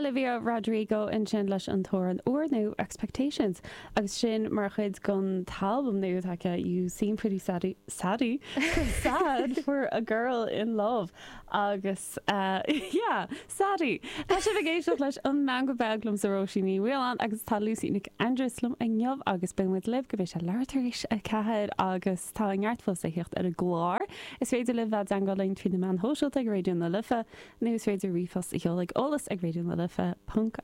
Olivia Rodrigo ansin leis an t-amhrán úrnua Expectations agus sin mar chuid den t-albam nua atá aici You Seem Pretty Saddy, Saddy? Sad for a Girl in Love agus yeah, Saddy! Tá sibh ag éisteacht leis an Meangadh Beag liomsa Róisín Ní Mhaoláin agus tá Lucy Nic Aindreas liom inniu agus beidh muid libh go mbeidh sé leathuair tar éis 4 agus tá neart fós le theacht ar an gclár. Is féidir libh bheith i dteangmháil linn trí na meáin shóisialta ag Raidió na Life nó is féidir ríomhphost a sheoladh ag eolas ag raidió na life ponc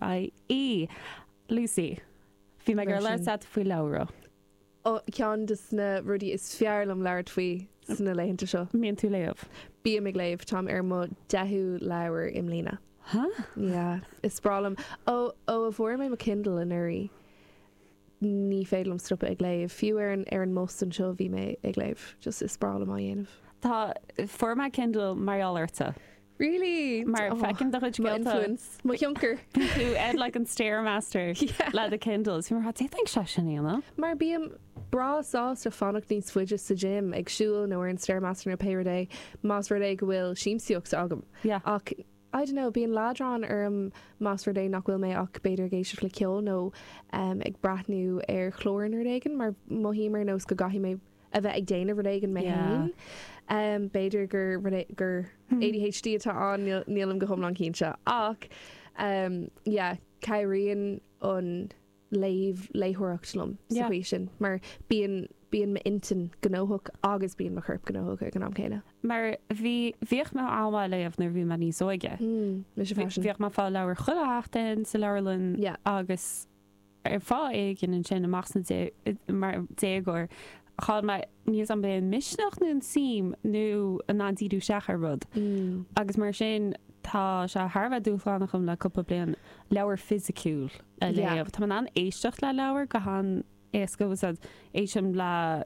ie. Lucy, bhí mé ag iarraidh labhairt leat faoi leabhra. Ceann de na rudaí is fearr liom labhairt faoi sna laethanta seo. Mbíonn tú léamh? Bím ag léamh. Táim ar mo deichiú leabhar i mbliana. Huh? Yeah. Is breá liom. Ó, ó a bhfuair mé mo Kindle anuraidh, ní féidir liom stopadh ag léamh. Fiú ar an, ar an mbus anseo bhí mé ag léamh. Just is breá liom á dhéanamh. Tá, fuair mé Kindle mar gheall ortsa. Really? Mar feicim do chuid Mo scéalta. influence, mo thionchar. Bíonn tú ar like an Stairmaster Yeah. le do Kindle. Is bhí mé d'fhéadfainn sé sin a dhéanamh. Mar bím breá sásta fanacht níos faide sa gym ag siúl nó ar an Stairmaster nó pé rud é más rud é go bhfuil siamsaíocht agam. Yeah. Ach I don't know, bíonn leadrán orm más rud é nach bhfuil mé ach b'fhéidir ag éisteacht le ceol nó ag breathnú ar chlár nó rud éigin mar mothaím ar nós go gcaithfidh mé a bheith ag déanamh rud éigin mé féin. B'fhéidir gur rud é gur ADHD atá ann, nílim go hiomlán cinnte. Ach yeah, cabhraíonn an léamh, léitheoireacht liom sa chaoi sin mar bíonn, bíonn m'intinn gnóthach agus bíonn mo chorp gnóthach ag an am céanna. Mar bhí, bhíodh mé an-mhaith ag léamh nuair a bhí mé níos óige. Mise freisin. Bhíodh mé ag fáil leabhar chuile sheachtain sa leabharlann agus ar fáth éigin ansin amach sna mar déagóir, chaill mé, níl 's a'm b'é an misneach nó an suim nó in ann díriú isteach ar rud. Agus mar sin tá sé thar a bheith dúshlánach dom le cúpla bliain leabhar fisiciúil a léamh. Tá mé in ann éisteacht le leabhar go han-éasca agus éistim le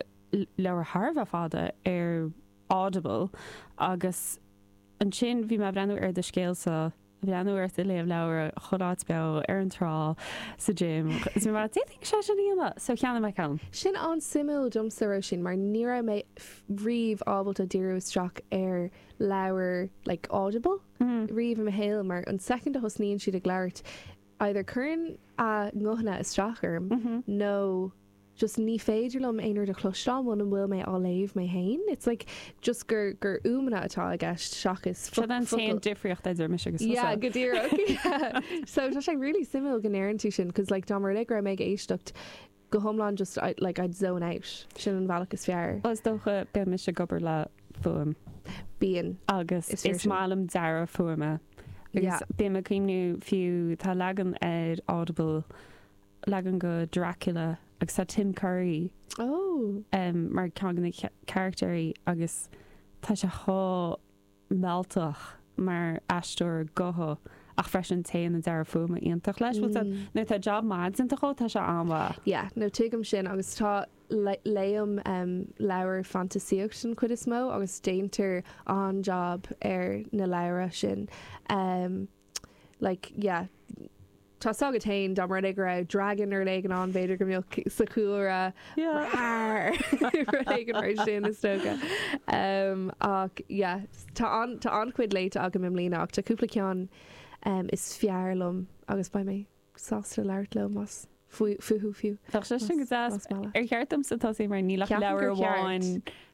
leabhar thar a bheith fada ar Audible agus ansin bhí mé ag breathnú ar do scéalsa breathnú ort ag léamh leabhair chuile áit beo, ar an trá, sa gym, is mé mar, d'fhéadfainn sé sin a dhéanamh! So cheannaigh mé ceann. Sin an-suimiúil domsa, Róisín, mar ní raibh mé riamh ábalta díriú isteach ar leabhar like Audible riamh i mo shaol mar an soicind a thosnaíonn siad ag labhairt either cuireann a nguthanna isteach orm nó just ní féidir liom aon rud a chloisteáil muna bhfuil mé á léamh mé féin. It's like just gur gur fhuaimeanna atá i gceist seachas Sin an t-aon difríocht idir mise agus tusa. Yeah, go díreach. Yeah. So tá sé really suimiúil go ndeireann tú sin cos like dá mba rud é go raibh mé ag éisteacht go hiomlán just I like I'd zone out. Sin an bhealach is fearr. Well is dócha bíonn mise ag obair le fuaim. Bíonn. Agus Is fíor is sin. maith liom dearadh fuaime. Agus Yeah. bím ag cuimhniú fiú tá leagan ar Audible leagan de Dracula agus tá Tim Curry Oh. mar ceann de na carachtéirí agus tá sé chomh mealltach mar aisteoir gutha ach freisin téann an dearadh fuaime iontach leis. Bhfuil mm. Nuair tá job maith déanta dhó tá sé an-mhaith. Yeah, no tuigim sin agus tá léim um, leabhair fantaisíocht den chuid is mó agus déantar an-job ar na leabhra sin. Um, like, yeah, tá 's agat féin dá mba rud é go raibh dragon nó rud éigin ann b'fhéidir go mbeadh sa chúlra rud éigin mar sin is dócha. Um, ach yeah, tá an tá an-chuid léite agam i mbliana ach tá cúpla ceann um, is fearr liom agus beidh mé sásta labhairt leo más fúthu fiú. Bheadh sé sin go deas. Ar cheart domsa tosú mar níl ach leabhar amháin.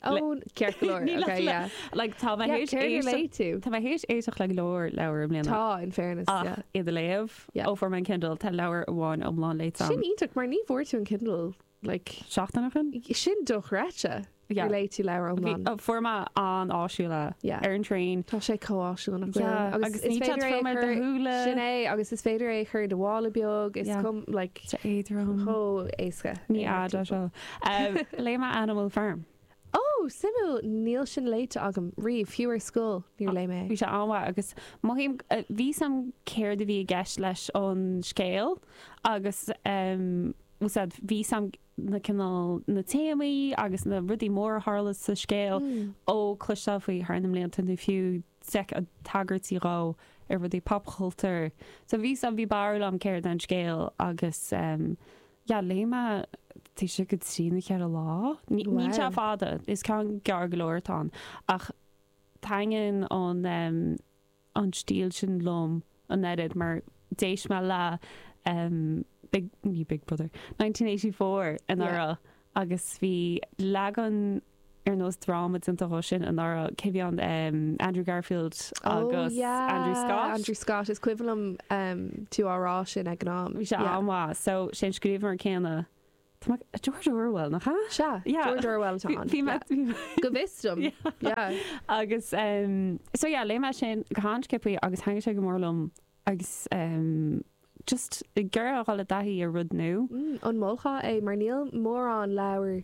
Ó, ceart go leor. Níl ach Okay, yeah. Like, tá mé Yeah, théis céard ar éisteacht léigh tú? Tá mé théis éisteacht le go leor leabhar i mbliana. Tá, in fairness, Ach yeah. iad a léamh Yeah. ó fuair mé an Kindle, tá leabhar amháin iomlán léite Sin agam. iontach mar ní bhfuair tú an Kindle like Seachtain ó shin? Sin dochreidte. Yeah. Gur léigh tú leabhar Bhí, iomlán. fuair mé an-áisiúil é. Yeah. Ar an traein. Tá sé chomh áisiúil nach bhfuil? Yeah, Agus agus is ní féidir é a trom ar do chur, shúile. sin é, agus is féidir é a chur i do mhála beag, is Yeah. cum, like, Tá éadrom. chomh éasca. Ní é a fhada timpeall. seo. Um, léigh mé Animal Farm. Ó, suimiúil, níl sin léite agam riamh, fiú ar scoil níor léigh mé é. Bhí sé an-mhaith agus mothaím, bhí 's a'm céard a bhí i gceist leis an scéal agus um, bhfuil 's a'd, bhí 's a'm na cineál, na téamaí agus na rudaí móra a tharla sa scéal ó cloisteáil faoi thar na mblianta nó fiú d'fheiceáil tagairtí dhó ar rudaí popchultúir. So bhí 's a'm, bhí barúil a'm céard é an scéal agus em yeah léigh mé taobh istigh de trí nó cheithre lá. Ní, níl sé Wow. fada, is ceann gearr go leor atá ann ach taitníonn an em an stíl sin liom an oiread mar. d'éist mé le um, Big, ní Big Brother, 1984 anuraidh agus bhí leagan ar nós dráma déanta dhó sin anuraidh, cé bhí ann, um, Andrew Garfield agus Andrew Scott. Andrew Scott, is cuimhin liom um, tú á rá sin ag an am. Bhí sé an-mhaith, so sé an scríbhneoir céanna. Tá mé, George Orwell, nach ea? Sea, George Orwell atá ann. Bhí mé, bhí mé. Go bhfios dom. Yeah. Agus, um, so yeah, léigh mé sin go han-sciobtha agus thaitnigh sé go mór liom agus um, just ag iarraidh a dhul i dtaithí ar rud nua. Mm, an molfá é mar níl mórán leabhar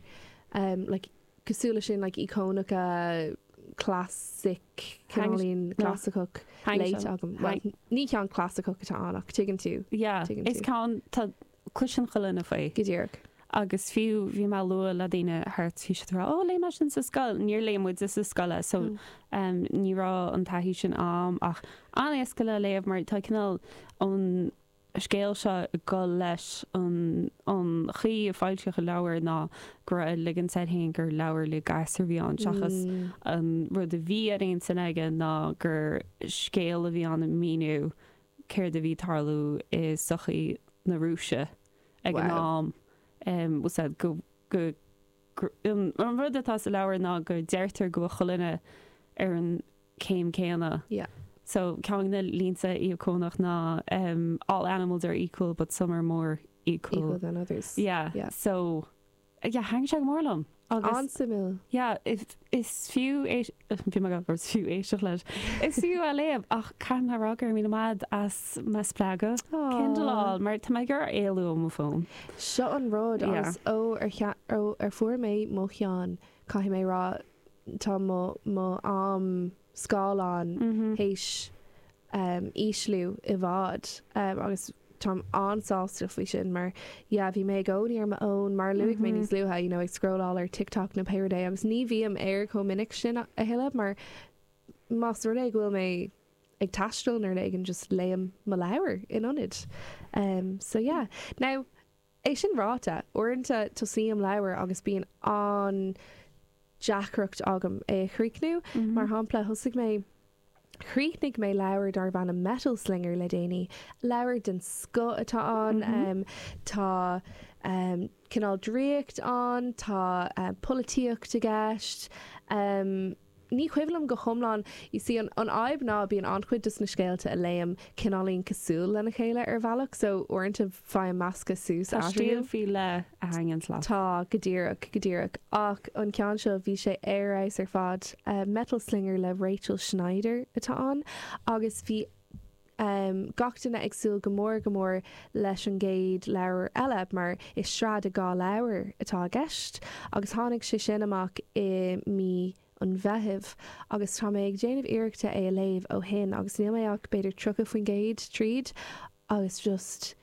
um, like, cosúil leis sin like, íocónacha classic cineáilín clasaiceach léite agam. Well, ní ceann clasaiceach atá ann ach tuigeann tú. Yeah, is ceann tá Cloiseann chuile dhuine faoi. Go díreach. Agus fiú bhí mé ag lua le daoine thart, bhí siad ag rá, oh léigh mé sin sa scoil. Níor léigh muide sa scoil é so ní raibh an taithí sin a'm ach an-éasca le léamh mar tá cineál an scéal seo ag dul leis an an chaoi a foilsíodh an leabhar ná go raibh ag ligint air féin gur leabhar le gasúir a bhí ann seachas an rud a bhí ar intinn aige ná gur scéal a bhí ann ag míniú céard a bhí ag tarlú i sochaí na Rúise ag an am. Bhfuil a fhios go, go, an rud atá sa leabhar ná go deirtear go bhfuil chuile dhuine ar an céim céanna. Yeah. So ceann de na línte íocónach ná all animals are equal but some are more equal. Equal than others. Yeah. Yeah. So Yeah, thaitnigh sé go mór liom. Agus. An-suimiúil. Yeah, is fiú é, bhí mé ag rá is fiú éisteacht leis. Is fiú é a léamh ach caithfidh mé a rá go raibh míle maith agat as mo spreagadh Kindle a fháil mar tá mé ag iarraidh éalú ó mo fón. Seo an rud agus ó ar ó ar fuair mé mo cheann, caithfidh mé a rá, tá mo mo am scáileáin théis ísliú i bhfad agus táim an-sásta faoi sin mar yeah bhí mé i gcónaí ar mo fhón mar a luaigh mé níos luaithe you know ag scrolláil ar TikTok nó pé rud é agus ní bhím air chomh minic sin a thuilleadh mar más rud é go bhfuil mé ag taisteal nó rud éigin just léim mo leabhar in ionad um so yeah now é sin ráite uaireanta tosaím leabhar agus bíonn an deacracht agam é a chríochnú mar shampla thosaigh mé Chríochnaigh mé leabhar darb ainm Metal Slinger le déanaí. Leabhar den scoth atá ann. Tá cineál draíocht ann, tá polaitíocht i gceist. Ní cuimhin liom go hiomlán. You see, an fhadhb ná bíonn an-chuid dos na scéalta a léim cineáilín cosúil lena chéile ar bhealach, so uaireanta faighim meascadh suas Tá stíl faoi leith a thaitníonns leat. Tá, go díreach, go díreach. Ach an ceann seo, bhí sé ar fheabhas ar fad. Metal Slinger le Rachel Schneider atá ann agus bhí gach duine ag súil go mór go mór leis an gcéad leabhar eile mar is sraith de dhá leabhar atá i gceist agus tháinig sé sin amach i mí an Mheithimh agus tá mé ag déanamh iarrachta é a léamh ó shin agus níl mé ach b'fhéidir 30% tríd agus just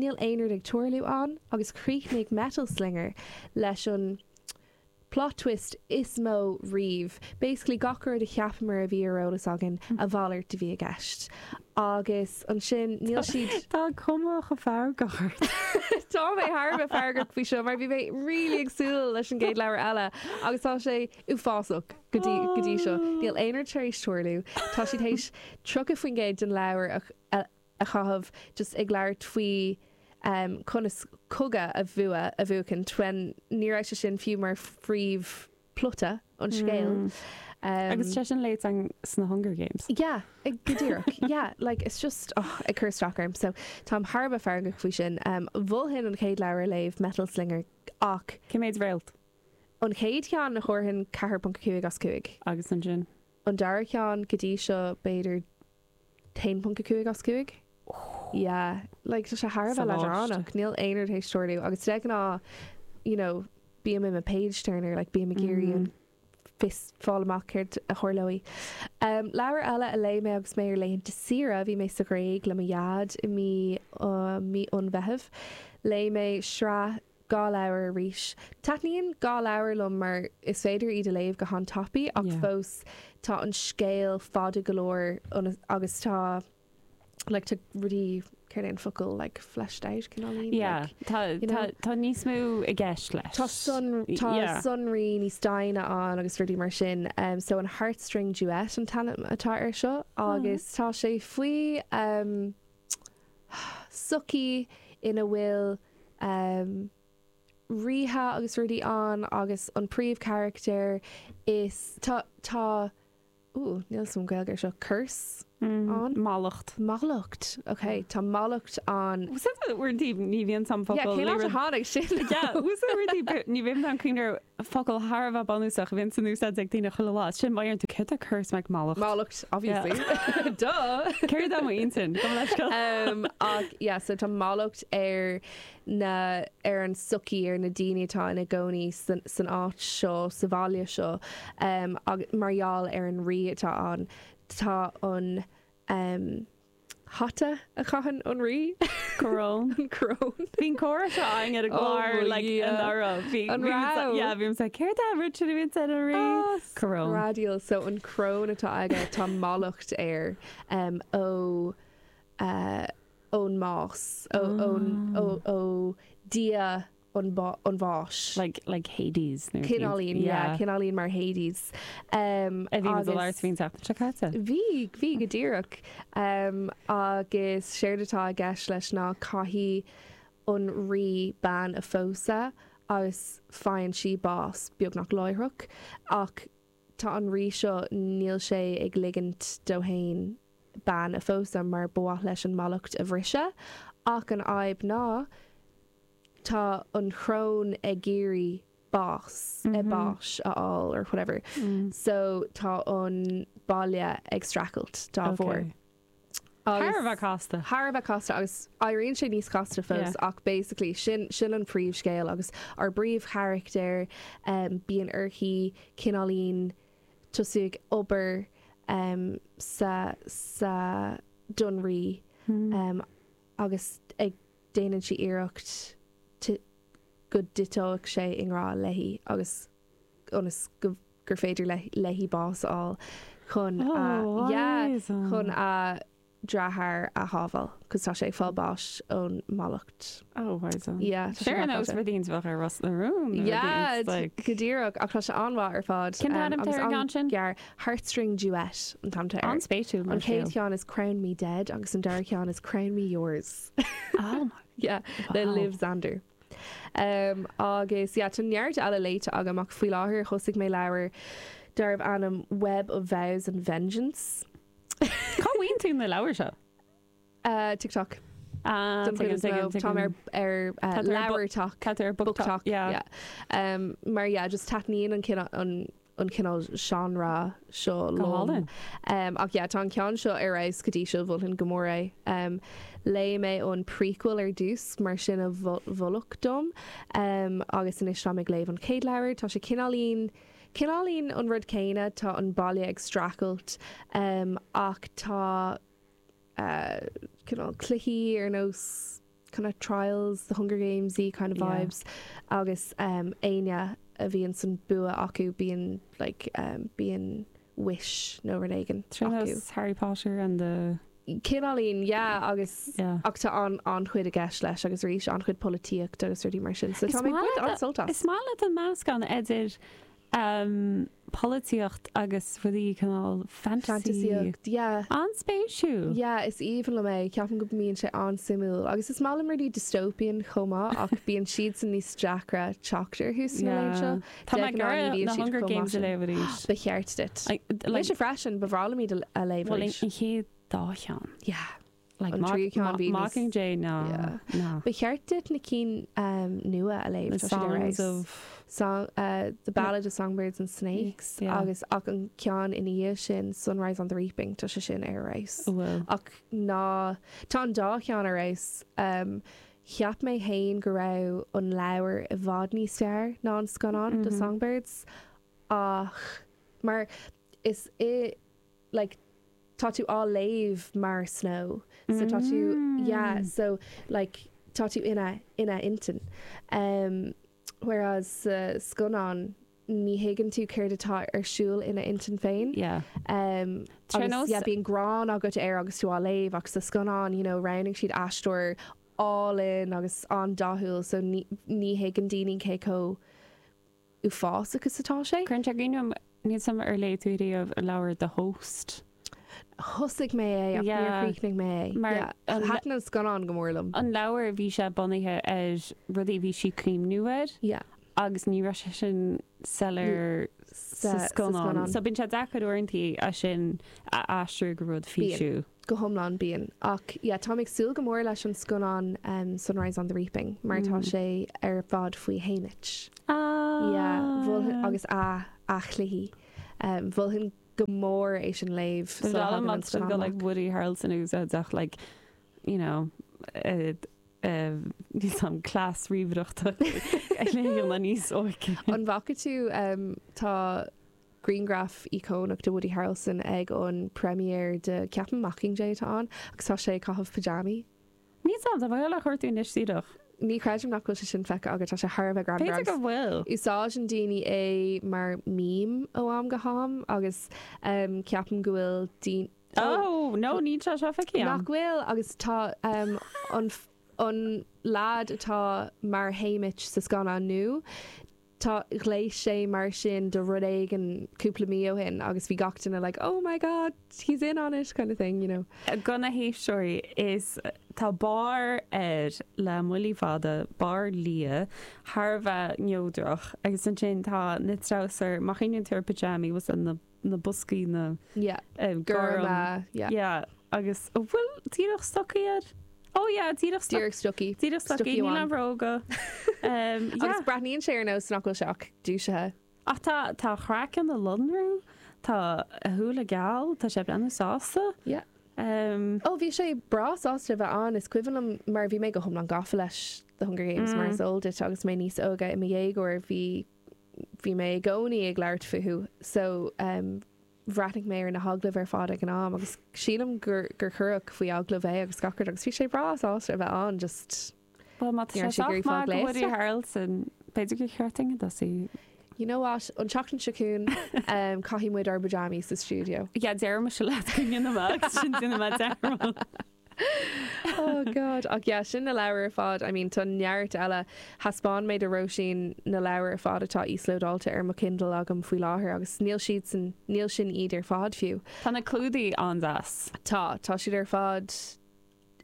níl aon rud ag tarlú ann agus chríochnaigh Metal Slinger leis an plot twist is mó riamh. Basically gach rud a cheapamar a bhí ar eolas againn, a mhalairt a bhí i gceist. Agus ansin níl siad. Tá cuma chomh feargach ort. Tá mé thar a bheith feargach faoi seo mar bhí mé really ag súil leis an gcéad leabhar eile agus tá sé uafásach go dtí go dtí seo. Níl aon rud tar éis tarlú. Tá siad théis 30% den leabhar a a chaitheamh just ag labhairt faoi conas cogadh a bhua, a bhuachaint when ní raibh sé sin fiú mar phríomh plota an scéil. Agus sé sin léite sna Hunger Games. Yeah, go díreach. Yeah, like it's just oh, ag cur isteach orm. So táim thar a bheith feargach faoi sin. Mholfainn an chéad leabhar a léamh, Metal Slinger, ach. Cé mhéad réalt? An chéad cheann thabharfainn 4.5 as 5. Agus ansin? An dara ceann go dtí seo b'fhéidir 1.5 as 5. Yeah, like tá sé thar a bheith leadránach, níl aon rud théis tarlú agus de ghnáth, you know, bím i mo page turner, like bím ag iarraidh an fios fáil amach céard a tharlóidh. Um, leabhar eile a léigh mé agus mé ar laethanta saoire, bhí mé sa Ghréig le mo dhaid i mí, uh, mí an Mheithimh. Léigh mé sraith 2 leabhar arís. Taitníonn 2 leabhar liom mar is féidir iad a léamh go han-tapaidh ach fós tá an scéal fada go leor agus tá like tá rudaí, céard é an focal, like fleshed out cineáilín? Yeah, tá you know? tá níos mó i gceist leis. Tá tá yeah. sonraí níos doimhne ann agus rudaí mar sin. Um, so an Heartstring Duet an t-ainm atá air seo agus tá sé faoi um, sochaí ina bhfuil ríthe agus rudaí ann agus an príomhcharachtar is tá tá Ooh, níl 'fhios a'm Gaeilge ar seo. Curse ann? Mallacht. Mallacht, ok. Tá mallacht ann. Uaireanta ní bhíonn 'fhios a'm focal. Yeah, cén áit a tháinig sin? Yeah, uaireanta ní bhíonn an cuimhne ar focal thar a bheith bunúsach a bhíonn san úsáid ag daoine chuile lá. Sin má deireann tú céard é curse like mallacht. Mallacht, obviously. Duh! Céard é m'intinn? Gabh mo leithscéal. Um, ach yeah, so tá mallacht ar na, ar an tsochaí, ar na daoine atá ina gcónaí san, san áit seo, sa bhaile seo, ag, mar gheall ar an rí atá ann. Tá an hata a chaitheann an rí. Coróin. An coróin. Bhí an comhrá seo againn ar an gclár, like, anuraidh. Bhí, An raibh? Yeah, bhí mise like, céard é an rud sin a bhíonn ar an rí? Oh, Coróin. Radial. So an coróin atá aige, tá mallacht air, ó, eh, ón mbás, ó Dhia an bháis. Like, like Hades nó. Cineáilín, yeah, cineáilín mar Hades. Um, a bhí muid ag labhairt faoin tseachtain seo caite. Bhí, bhí go díreach. Um, agus séard atá i gceist leis ná caithfidh an rí bean a phósadh agus faigheann sí bás beagnach láithreach ach tá an rí seo, níl sé ag ligint dó fhéin bean a phósadh mar ba mhaith leis an mallacht a bhriseadh ach an fhadhb ná tá an choróin ag iarraidh bás, báis a fháil or whatever so tá an baile ag streachailt dá bharr. Thar a bheith casta. Thar a bheith casta agus éiríonn sé níos casta fós ach basically sin sin an príomhscéal agus ár bpríomhcharachtar bíonn uirthi cineáilín tosú ag obair sa sa don rí agus ag déanann sí iarracht go dtiteoidh sé i ngrá léi agus ionas go gur féidir léi bás a fháil chun a yeah chun a deartháir a shábháil cos tá sé ag fáil báis ón mallacht. Oh right so. Yeah, tá sé Ar nós rudaí a bheadh ar Ros na Rún nó Yeah, like. go díreach ach tá sé an-mhaith ar fad. Cén t-ainm atá ar an gceann sin? Gearr Heartstring Duet an t-ainm atá air. An-spéisiúil mar An chéad scéal. cheann is Crown Me Dead agus an dara ceann is Crown Me Yours. Oh my Yeah, le Wow. Liv Zander. Um, agus yeah, tá neart eile léite agam ach faoi láthair thosaigh mé leabhar darbh ainm Web of Vows and Vengeance. Cá bhfaigheann tú na leabhair seo? Uh, TikTok. Ah, Don chuid is mó. Táim ar ar uh, LeabhairTok. Tá tú ar BookTok. Yeah. Yeah. Um, mar yeah, just taitníonn an cineál an an cineál genre seo Go liom. hálainn. Um, ach yeah, tá an ceann seo ar fheabhas go dtí seo mholfainn go mór é. Um, léigh mé an prequel ar dtús mar sin a mholadh dom um, agus anois táim ag léamh an chéad leabhar. Tá sé cineáilín cineáilín an rud céanna, tá an baile ag streachailt um, ach tá uh, cineál cluichí ar nós kind of trials, the Hunger Games-y kind of vibes agus um, éinne a bhíonn an bua acu bíonn like um, bíonn wish nó rud éigin acu. Nós Harry Potter and the Cineáilín, yeah, agus Yeah. ach tá an an-chuid i gceist leis agus arís an-chuid polaitíocht agus rudaí mar sin. So Is tá mé ag maith baint leat an-sult as. Is maith leat an meascán idir um, polaitíocht agus rudaí cineál fantasy. Fantasíocht, yeah. An-spéisiúil. Yeah, is aoibhinn liom é. Ceapaim go mbíonn sé an-suimiúil. Agus is maith liom rudaí dystopian chomh maith ach bíonn siadsan níos deacra teacht orthu sna laethanta seo. Tá De mé ag ghnáth ní iarraidh bhíonn na siad Hunger chomh maith Games a sin. léamh arís. Ba cheart duit. Like, Mise freisin, ba bhreá liom iad a léamh Bhuel, arís. an chéad dá cheann. Yeah. Like, An tríú ceann bhí níos- Mockingjay ná Yeah. ná. Ba cheart duit na cinn um, nua a léamh The tá siad ar Songs fheabhas. of Song, uh, The Ballad of Songbirds and Snakes Yeah. agus ach an ceann ina dhiaidh sin Sunrise on the Reaping tá sé sin ar fheabhas. Bhfuil. Ach ná tá an dá cheann ar fheabhas. Um, cheap mé féin go raibh an leabhar i bhfad níos fearr ná an scannán do Songbirds ach mar is i like tá tú á léamh mar Snow so tá tú yeah so like tá tú ina ina intinn um, whereas sa scannán ní thuigeann tú céard atá ar siúl ina intinn féin Yeah. um, Ar agus nós- yeah, bíonn gráin agat air agus tú á léamh ach sa scannán you know, roghnaigh siad aisteoir álainn agus an-dathúil so ní, ní thuigeann daoine cé chomh uafásach is atá sé. Cuireann sé i gcuimhne dom níl 's agam ar léigh tú riamh an leabhar The Host. Thosaigh mé é ach níor chríochnaigh mé é. Mar thaitin an scannán go mór liom. An leabhar, bhí sé bunaithe ar rudaí a bhí sí ag cuimhniú air agus ní raibh sé sin soiléir sa scannán. So bíonn sé deacair uaireanta é sin a aistriú go rud físiúil. Go hiomlán, bíonn. Ach yeah, táim ag súil go mór leis an scannán Sunrise on the Reaping mar tá sé ar fad faoi Haymitch. Ah! Yeah, mholfainn, agus a, a chluichí. Mholfainn go mór é sin a léamh sula thagann an scannán amach. Like Woody Harrelson úsáideach like, you know, níl 's a'm cleas ríomhaireachta a léamh níos óige. An bhfaca tú tá grianghraf íocónach de Woody Harrelson ag an premiere de ceapaim Mockingjay atá ann agus tá sé ag caitheamh pyjamaí. Níl 's a'm, tá mé ag dul a chuartú anois díreach. Ní chreidim nach bhfuil sé sin feicthe agat, tá sé thar a bheith greannmhar B'fhéidir go bhfuil. Úsáideann daoine é mar meme ó am go ham agus ceapaim go bhfuil daoine. Oh, no, níl sé seo feicthe agam. Nach bhfuil agus tá an an leaid atá mar Haymitch sa scannán nua, Tá, ghléas sé mar sin do rud éigin cúpla mí ó shin agus bhí gach duine like oh my god, he's in on it kind of thing, you know. Do na héisteoirí, is tá barr air le muillí fada, barr liath, thar a bheith neodrach agus ansin tá na treabhsair, má chuimhníonn tú ar pyjamaí, was na na boscaí na Yeah. gorm. Gorma, yeah. Yeah, agus an bhfuil díreach stocaí air? Oh yeah, díreach stocaí. Díreach stocaí. Díreach stocaí, níl aon bhróga. Um, yeah. Agus breathnaíonn sé ar nós nach bhfuil sé ach dúisithe. Ach tá tá a chraiceann ag lonrú, tá a shúile geal, tá sé ag breathnú sásta. Yeah. Um, Oh, bhí sé breá sásta a bheith ann, is cuimhin liom mar bhí mé go hiomlán gafa leis The Hunger Games mar is eol duit agus mé níos óige i mo dhéagóir bhí bhí mé i gcónaí ag labhairt fúthu so bhreathnaigh mé ar na hagallaimh ar fad ag an am agus sílim gur gur cuireadh faoi agallamh é agus gach rud agus bhí sé breá sásta a bheith ann just Bhuel má tá sé sách maith do Woody Harrelson b'fhéidir gur cheart dúinn tosú. You know what, an tseachtain seo chugainn caithfidh muid ár bpyjamas sa stiúideo. Yeah, déarfaidh mise leat go ndéanfaidh mé agus sin déanfaidh mé dearmad. Oh God. Ach yeah, sin na leabhair ar fad. I mean, tá neart eile. Thaispeáin mé do Róisín na leabhair ar fad atá íoslódáilte ar mo Kindle agam faoi láthair agus níl siadsan, níl sin iad ar fad fiú. Tá na clúdaigh an-deas. Tá, tá siad ar fad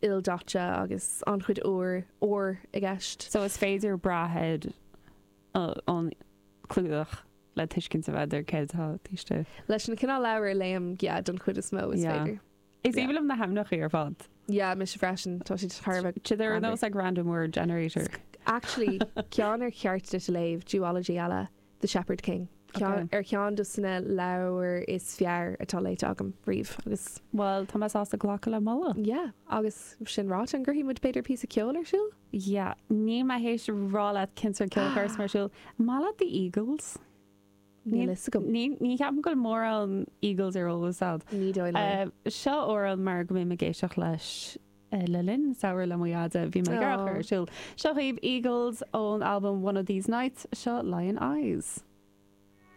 ildaite agus an-chuid ór, ór i gceist. So is féidir brath ar an clúdach le tuiscint a bheith ar céard atá taobh istigh. Leis na cineál leabhar a léim, yeah, don chuid is mó is féidir. Is aoibhinn liom na hainmneacha ar fad. Yeah, mise freisin. Tá siad thar a bheith Siad ar nós like random word generator. Actually, ceann ar cheart duit a léamh, duology eile, The Shepherd King. Ceann, Okay. ar cheann dos na leabhair is fearr atá léite agam riamh agus. Bhuel, tá mé sásta glacadh le moladh. Yeah, agus sin ráite, an gcuirfidh muid b'fhéidir píosa ceoil ar siúl? Yeah, níl mé théis rá leat cén sórt ceoil a chuirfeas mé ar siúl. Maith leat The Eagles? Níl fhios agam. Ní ní cheapaim go bhfuil mórán Eagles ar eolas a'd. Ní dóigh liom. Seo amhrán mar go mbím ag éisteacht leis le linn samhradh le mo dheaide. Bhí mé ag iarraidh a chur ar siúl. Seo dhaoibh Eagles ón albam One of These Nights. Seo Lyin' Eyes.